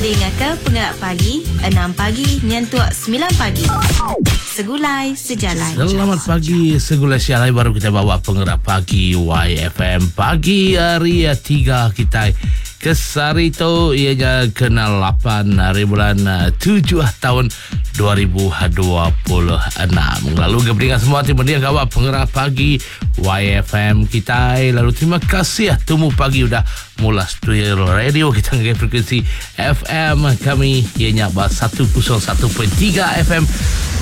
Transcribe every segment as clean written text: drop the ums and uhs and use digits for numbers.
Dingaka Pengelap Pagi, enam pagi nyentuk semilan pagi. Segulai Sejalai. Selamat pagi Segulai Sejalai baru kita bawa Pengerak Pagi YFM. Pagi hari 3 kita ke sehari tu ianya kena 8 hari bulan 7 tahun 2026. Lalu ke peningat semua ti mending gawa Pengerak Pagi YFM kitai lalu terima kasih tumu pagi udah mula studio radio kita ngagai frekuensi FM kami iya nya ba 101.3 FM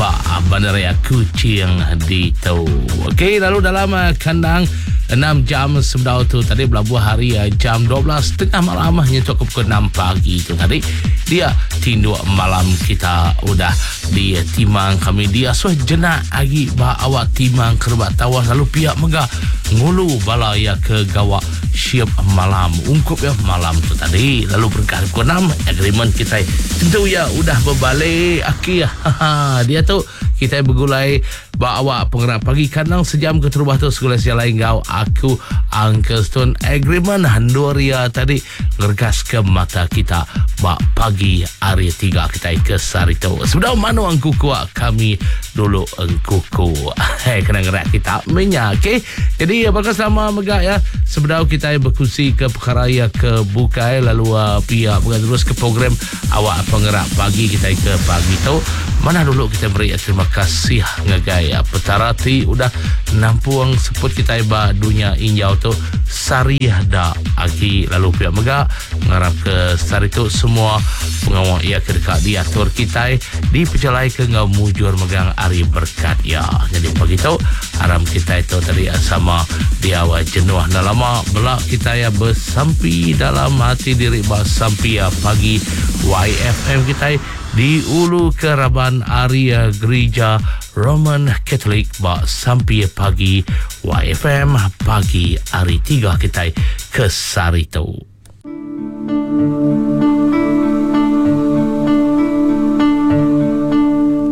ba Bandaraya Kuching ditu. Okey lalu dalam eh, kandang 6 jam sebedau tu tadi belabuh hari eh, jam 12 tengah malam nyentuk ke pukul 6 pagi tu tadi dia tinduk malam kita udah Di timang kami diasuh jenak agi ba awak timang kerebak tawas lalu pia mega ngulu bala iya ke gawa shift malam ungkup iya malam tu tadi lalu berengkah ari pukul enam agreement kitai tentu iya udah bebalik aki haha diatu kitai begulai Ba awak pengerap pagi kandang sejam keterubah tu segulai sejalai enggau aku Uncle Stone Agreement endur iya tadi ngeregas ke mata kita ba pagi hari tiga kitai ke sehari tu. Sebedau manu engkuku kami dulu engkuku. Hei kena ngerak kita menya okey. Jadi baka selama mega ya sebedau kitai bekunsi ke perkara iya ke bukai lalu uh, pia mega terus ke program Awak pengerak pagi kitai ke pagi tu. Manah dulu kitai meri terima kasih ngagai Petara ti udah nampung seput kitai ba dunya injau tu sehari da agi lalu pia mega ngarap ke sehari tu semua pengawa iya ke deka diatur kitai dipejalaika enggau mujur megang ari berkat iya. Nyadi pagi tu aram kitai tu tadi sama diau jenuh enda lama bela kitai besampi dalam ati diri ba sampi pagi YFM kitai diulu ke raban ari Gerija Roman Catholic ba sampi pagi YFM pagi hari tiga kitai ke sehari tu.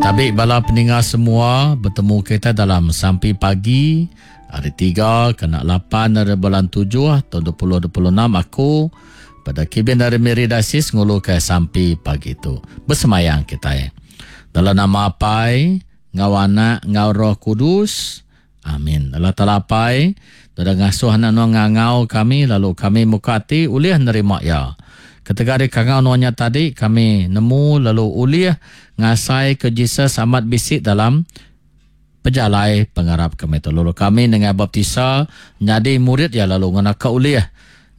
Tabi bala peninga semua betemu kita dalam sampi pagi hari tiga kena lapan ari bulan tujuh taun 2026 aku Pada kibin ari Miri Diocese nguluka sampi pagi tu. Besemayang kitai. Dalam nama Apai, enggau Anak, enggau Roh Kudus. Amin. Allah Taala Apai, udah ngasuh anak nuan ngangau kami lalu kami muka ati ulih nerima iya. Ketegal ari kangau nuan nya tadi, kami nemu lalu ulih ngasaika Jesus amat bisi dalam pejalai pengarap kami tu. Lalu kami nengah baptisa nyadi murid iya lalu ngena ka ulih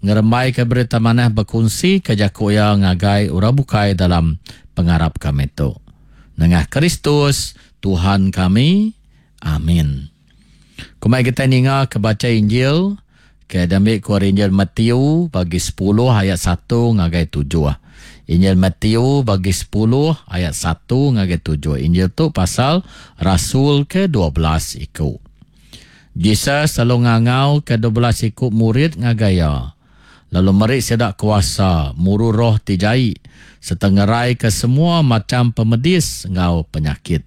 ngerembaika berita manah bekunsika jaku iya ngagai orang bukai dalam pengarap kami tu. Nengah Kristus Tuhan kami. Amin. Kumai kitai ninga ke bacha Injil ke diambi ku ari Injil Matthew bagi sepuluh ayat satu ngagai tujuh. Injil Matthew bagi sepuluh ayat satu ngagai tujuh. Injil tu pasal rasul ke 12 iku. Jesus lalu ngangau ke 12 iku murid ngagai iya, lalu meri sida kuasa muru roh ti jai sereta ngeraika semua macham pemedis enggau penyakit.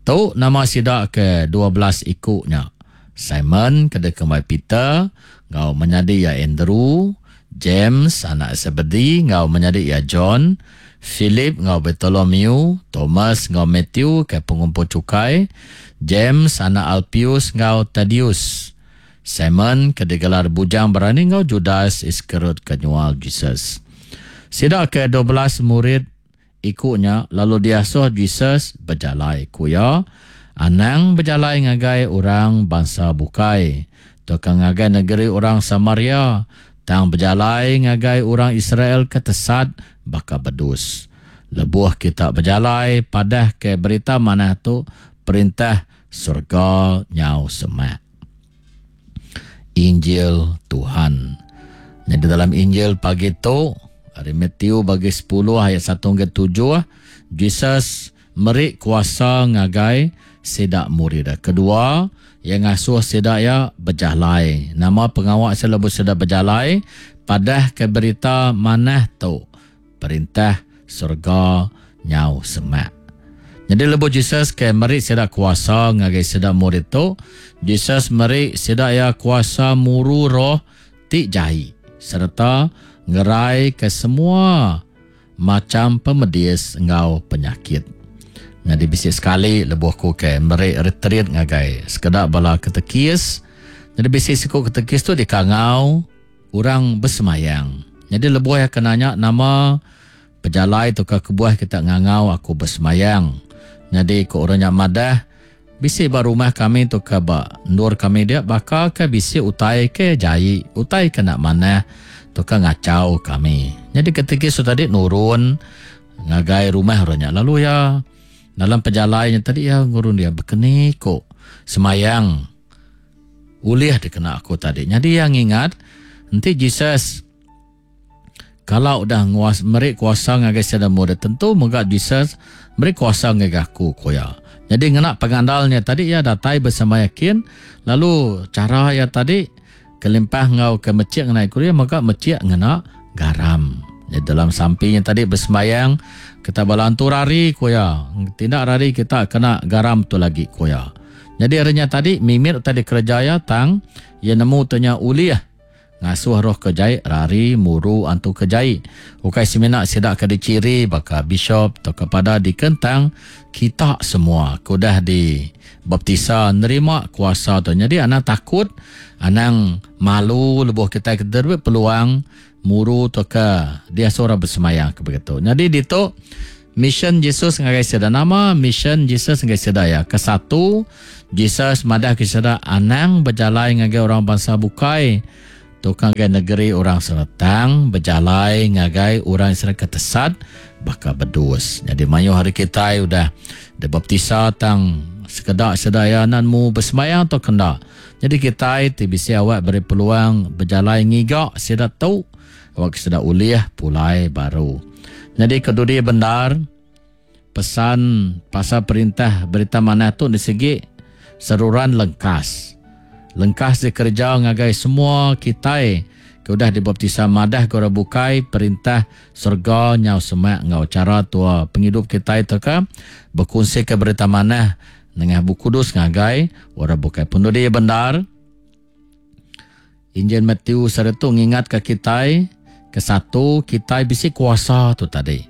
Tu nama sida ke 12 iku nya, Simon ke dikembai Peter, enggau menyadi iya Andrew, James anak Zebedi enggau menyadi iya John, Philip enggau Bartolomew, Thomas enggau Matthew ke pengumpul chukai, James anak Alpius enggau Tadius, Simon ke digelar Bujang Berani enggau Judas Iskariot ke nyual Jesus. Sida ke 12 murid Iku nya lalu diasuh Jesus bejalai. Ku iya, Anang bejalai ngagai orang bansa bukai, tauka ngagai negeri orang Samaria, tang bejalai ngagai orang Israel ke tesat baka bedus. Lebuh kita bejalai, padahka berita manah tu, Perintah serega nyau semak. Injil Tuhan. Nyadi dalam Injil pagi tu, ari Matthew bagi 10 ayat 1 hingga 7, Jesus meri kuasa ngagai sida murid. Kedua, iya ngasuh sida iya bejalai. Nama pengawa sida lebuh sida bejalai? Padah ke berita manah tu. Perintah serega nyau semak. Nyadi lebuh Jesus ke meri sida kuasa ngagai sida murid tu, Jesus meri sida iya kuasa muru roh ti jai sereta ngerai ke semua macham pemedis enggau penyakit. Nyadi bisi sekali lebuh ku ke meri retreat ngagai sekeda bala ketekis, nyadi bisi siku ketekis tu dikangau orang besemayang. Nyadi lebuh iya ke nanya nama pejalai tauka kebuah kita ngangau aku besemayang. Nyadi ku orang nya madah bisi ba rumah kami tauka ba endur kami dia baka ke bisi utai ke jai, utai ke enda manah tauka ngachau kami. Nyadi ketika su tadi nurun ngagai rumah orang nya lalu iya dalam pejalai nya tadi iya ngurun dia bekeni ku semayang ulih dikena aku tadi. Nyadi iya ngingat enti Jesus Kala udah nguas meri kuasa ngagai sida murid tentu mega Jesus meri kuasa ngagai aku, ku iya. Nyadi ngena pengandal nya tadi iya datai besemaya kin lalu chara iya tadi kelimpah enggau ke mechik ngena iku iya mega mechik ngena garam. Nyadi dalam sampi nya tadi besembayang kita bala antu rari ku iya. Tindak rari kita kena garam tu lagi ku iya. Nyadi ari nya tadi mimit utai dikereja iya tang iya nemu tu nya ulih. Ngasuh roh ke jai rari muru antu ke jai. Ukai semina sida ke dichiri baka bishop tauka pada dikentang kita semua ke udah dibaptisa nerima kuasa tu. Nyadi anang takut, anang malu lebuh kitai ke diberi peluang muru tauka diasuh orang besemaya ke begitu. Nyadi ditu Mission Jesus ngagai sida nama mission Jesus ngagai sida iya? Kesatu, Jesus madah ke sida anang bejalai ngagai orang bansa bukai tauka ngagai negeri orang Israel tang bejalai ngagai orang Israel ke tesat baka bedus. Nyadi mayuh ari kitai udah dibaptisa tang sekeda sida iya enda nemu besembahyang tauka enda. Nyadi kitai ti bisi awak beri peluang bejalai ngiga sida tu Awak sida ulih pulai baru. Nyadi ke dudi bendar, pesan pasal perintah Berita Manah tu disegi seruran lengkas. Lengkas dikereja ngagai semua kitai ke udah dibaptisa madah ke orang bukai perintah serega nyau semak enggau chara tua pengidup kitai tauka bekunsika Berita Manah nengah Bup Kudus ngagai orang bukai. Penudi bendar. Injil Matthew saritu ngingatka kitai, kesatu, kitai bisi kuasa tu tadi.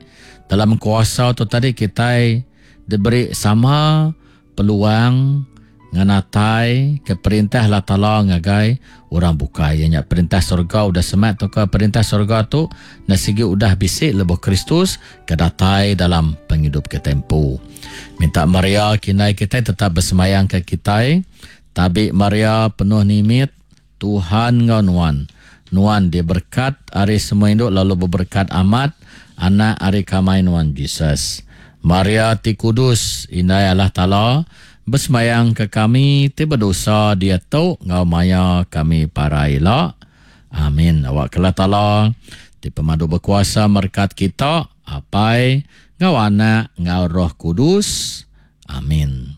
Dalam kuasa tu tadi kitai diberi sama peluang ngenatai ke perintah Allah Taala ngagai orang bukai. Iya nya perintah surga udah semak tauka perintah surga tu enda sigi udah bisi lebuh Kristus ke datai dalam pengidup kitai empu. Minta Maria kindai kitai tetap besembayang ke kitai. Tabi Maria penuh nimit, Tuhan enggau nuan. Nuan diberkat ari semua indu lalu beberkat amat Anak ari kamai nuan Jesus. Maria ti kudus, Indai Allah Taala, besembayang ke kami ti bedosa diatu enggau maya kami parai ila. Amin. Awakka Allah Taala ti pemadu bekuasa merekat kita, Apai, enggau Anak, enggau Roh Kudus. Amin.